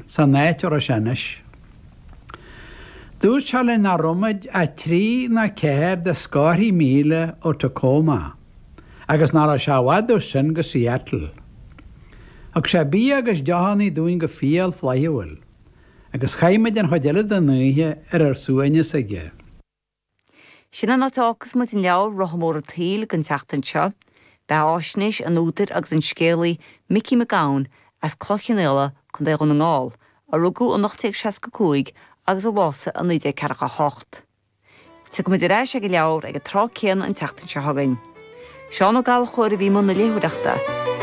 San áit a raibh sé anois. Dúirt sé linn nach raibh muid ach trí nó ceathair de scórthaí míle ó Tacoma agus nach raibh sé i bhfad ó sin go Seattle. Thug sé bia agus deochannaí dúinn go fial flaithiúil agus chaith muid an chuid eile den oíche ar ár suaimhneas aige. Sin an áit a fhágfas muid an leabhar Rotha Mór an tSaoil don tseachtain seo. Beatháisnéis an údair agus an scéalaí Micí Mac Gabhann as Cloich Chionnaola, Co. Dhún na nGall, a rugadh in 1865 agus a bhásaigh i 1948. Tiocfaimid ar ais ag an leabhar ag an tráth céanna an tseachtain seo chugainn. Seán Ó Gallchóir a bhí i mbun na léitheoireachta.